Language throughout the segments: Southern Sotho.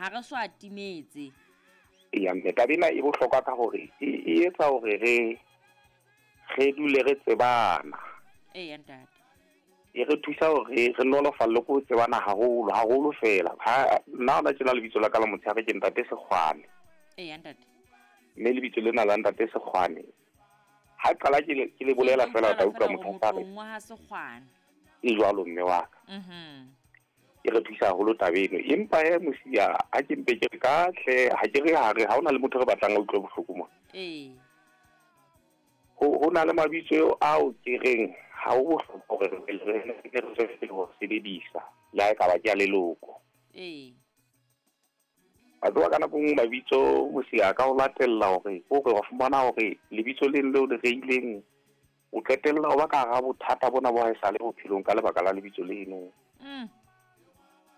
Ha re so atimetse. Eya mme, taba ena e bohlokwa ka hore e etsa hore re dule re tsebana. Eya ntate. E re thusa hore re nolofalle ko tsebana haholo, haholo fela. Ha nna hona tjena lebitso la ka la motshehare ke Ntate Sekgwane. Eya ntate. Mme lebitso lena la Ntate Sekgwane, ha qala ke le bolela fela, o tla utlwa motho a re wa ha Sekgwane. E jwalo mme wa ka. E re thusa haholo taba eno. Empa he mosia, ha ke mpe ke re ka hle, ha ke re ha re, ha hona le motho re batlang a utlwe bohloko mona. Ho na le mabitso ao ke reng ha ho bohlokwa hore re re re ho sebedisa, le ha e ka ba ke a leloko. Wa tseba ka nako e nngwe mabitso mosia ka ho latella hore o re wa fumana hore lebitso leng leo le reileng, o qetella ho ba ka hara bothata bona bo haesale bophelong ka lebaka la lebitso leno.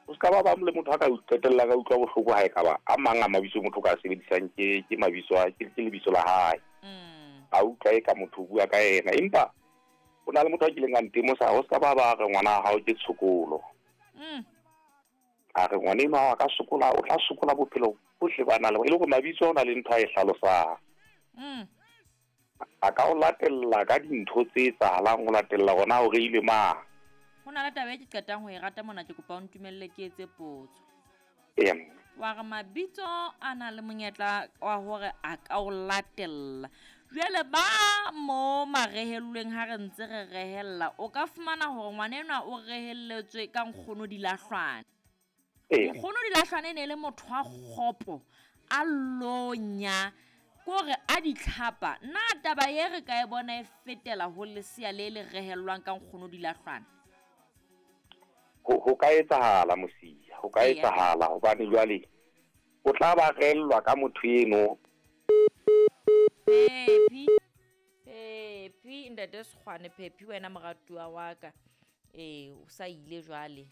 O ska ba le motho a ka qetella ka utlwa bohloko ha e ka ba a mang a mabitso motho ka sebedisang ke mabitso a ke lebitso la hae. A utlwa e ka motho o bua ka yena, empa o na le motho a kileng a ntemosa, o ska ba ba re ngwana wa hao ke tshokolo. A re ngwana enwa wa ka sokola, o tla sokola bophelo bohle ba na le, e le hore mabitso a o na le ntho a e hlalosang. A ka o latella ka dintho tse etsahalang, o latella hona o reile mang. Ho na le taba e ke qetang ho e rata mona, ke kopa o ntumelle ke etse potso. Wa re mabitso a na le monyetla wa hore a ka o latella. Jwale ba mo marehellweng ha re ntse re rehella, o ka fumana hore ngwana enwa o rehelletswe ka nkgono Dilahlwane. Nkgono Dilahlwane e ne le motho wa kgopo, a lonya, kore a ditlhapa. Na taba e re ka e bona e fetela ho lesea le le rehellwang ka nkgono Dilahlwane? Ho ka etsahala mosia, ho ka etsahala hobane jwale o tla ba rellwa ka motho eno. Phephi, Phephi, Ntate Sekgwane, Phephi wena moratuwa wa ka. O sa ile jwale.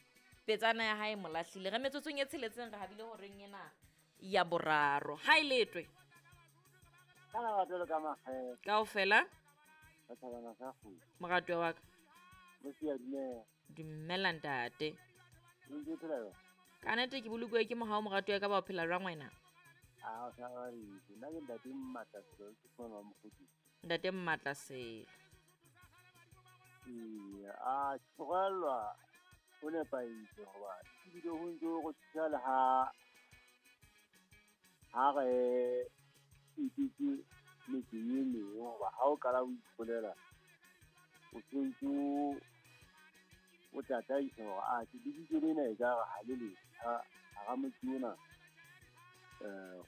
Petsana ya hae molahlile. Re metsotsong e tsheletseng re habile horeng ena ya boraro. Ha e letwe. Ka la batho ka makgethe. Kaofela? Ka thabana sa kgwedi. Moratuwa wa ka. Mosia, dumela. Dumela ntate. O ntse o phela jwang? Ka nnete ke bolokuwe ke mohau moratuwa ka ba o phela jwang wena? A, o sa ba re, nna ke Ntate Mmatlaselo, ke mona wa Mokgotsi. Ntate Mmatlaselo. Ee, a tlogelwa o nepahetse hoba ebile ho ntse ho re thusa le ha re etetse metseng e meng, hoba ha o qala o ipolela, o sentse o tataisa hore, a, ke lebitso lena e ka re ha le letjha, hara motse ona,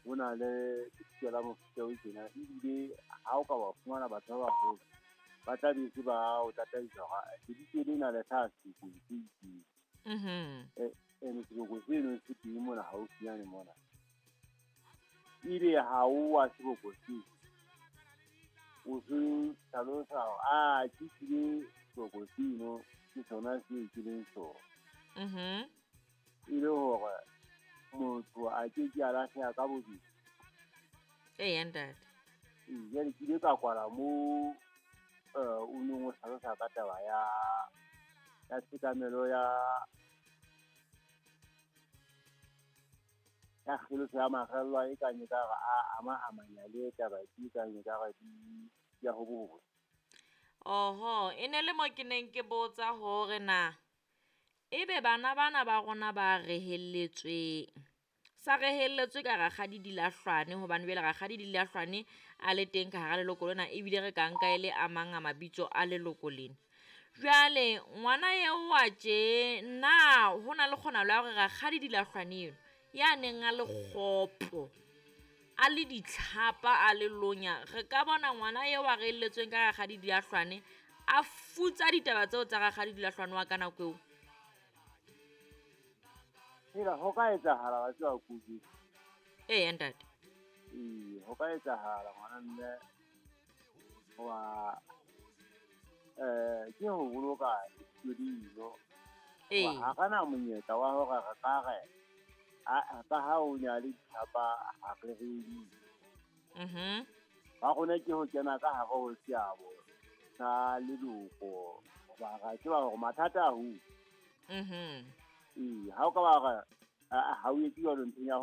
ho na le lebitso la mofuta o tjena, ebile ha o ka wa fumana batho ba baholo, ba tla be se ba o tataisa hore lebitso lena le hlaha sebokong se itseng. Ene seboko seno se teng mona haufinyane mona. Ebe ha o wa seboko seo, o se hlalosa hore, a, ke tlile seboko seno, ke sona seo ke leng sona. E le hore motho a ke ke a lahleha ka bobedi. Eya, ntate. Ee, jwale ke ile ka kwala moo, o neng o hlalosa ka taba ya tshekamelo ya kgeloso ya makgellwa e kang e ka re a ama amanya le taba e kang e ka re di ya ho bohle. Oho, e ne le mo ke neng ke botsa hore na ebe bana bana ba rona ba rehelletsweng, sa rehelletswe ka Rakgadi Dilahlwane, hobane jwale Rakgadi Dilahlwane a le teng ka hara leloko lena, ebile re ka nka e le a mang a mabitso a leloko lena. Jwale ngwana eo wa tje, na ho na le kgonahalo ya hore Rakgadi Dilahlwane eno ya neng a le kgopo, a le ditlhapa, a le lonya, re ka bona ngwana eo a rehelletsweng ka Rakgadi Dilahlwane a futsa ditaba tseo tsa Rakgadi Dilahlwane wa ka nako eo? Hela, ho ka etsahala wa tseba kudu. Ee, ntate. Ee, ho ka etsahala ngwana mme wa, ke ho boloka dilo. Ee. Ha re na monyetla wa hore re ka re, a, ka ha o ne a le ditlhapa, ha re re Ba rona ke ho kena ka hare ho seabo sa leloko, hoba ra tseba hore mathata a ho. Ee, ha o ka ba re, ha o etse jwalo nthong ya